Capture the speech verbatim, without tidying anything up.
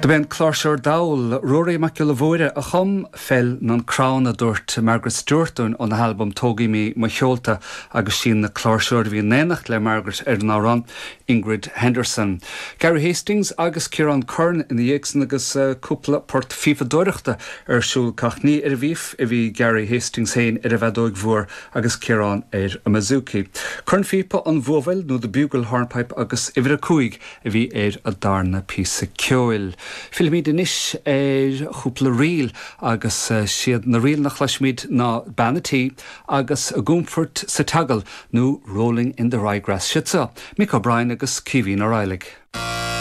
Do b'é an cláirseoir dall Ruairí Mac Giolla Mhóire a chum Feil nan Crann a dúirt Margaret Stewart dúinn óna halbam Tógaidh Mé Mo Sheolta agus sí an cláirseoir a bhí in éineacht le Margaret ar an amhrán Ingrid Henderson. Gary Hastings agus Ciarán Curran ina dhiaidh san agus uh, cúpla port fífadóireachta ar siúl ach ní ar an bhfíf a bhí Gary Hastings féin ar an bhfeadóg mhór agus Ciarán ar an mbouzouki. Cornphíopa an Bhuabhaill nó the Bugle Hornpipe agus uimhir a cúig a bhí ar an darna píosa ceoil. Fillfimid anois ar chúpla ríl agus uh, siad na ríleanna a chloisfimid ná Bean an Tí agus I gCoimfhirt sa tSeagal nó Rolling in the Ryegrass siad seo, Mick O'Brien agus Caoimhín Ó Raghallaigh.